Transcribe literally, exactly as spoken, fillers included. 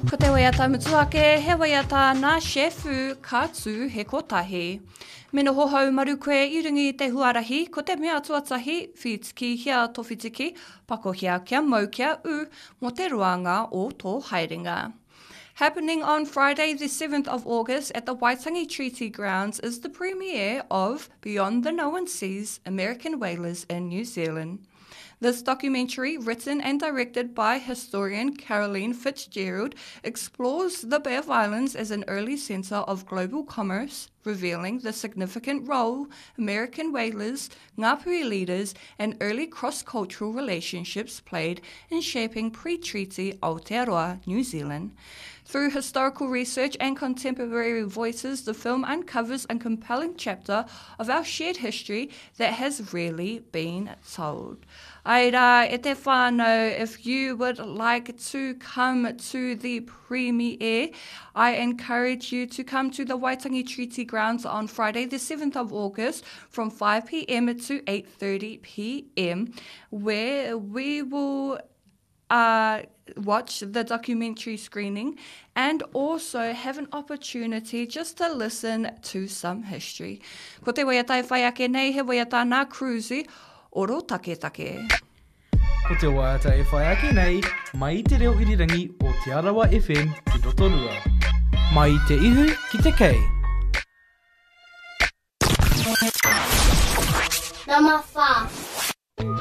Ko te waiata mutu ake, he waiata nā Shefu ka tū he kotahi. Me noho haumaru koe i runga i te huarahi, ko te mea tuatahi, whitikihia tō whitiki, pakohia kia mau kia ū mō te roanga o tō haerenga. Happening on Friday the seventh of August at the Waitangi Treaty Grounds is the premiere of Beyond the Known Seas, American Whalers in New Zealand. This documentary, written and directed by historian Caroline Fitzgerald, explores the Bay of Islands as an early centre of global commerce, revealing the significant role American whalers, Ngāpuhi leaders, and early cross-cultural relationships played in shaping pre-treaty Aotearoa, New Zealand. Through historical research and contemporary voices, the film uncovers a compelling chapter of our shared history that has rarely been told. Ai rā, e te whānau, if you would like to come to the premiere, I encourage you to come to the Waitangi Treaty Grounds on Friday the seventh of August from five p m to eight thirty p m, where we will uh, watch the documentary screening and also have an opportunity just to listen to some history. Ko te waiata e whai ake nei, he waiata nā Cruzy, Oro Taketake. Ko te waiata e whai ake nei, mai i te reo irirangi o Te Arawa F M ki Rotorua. Mai i te ihu ki te kei. Number five.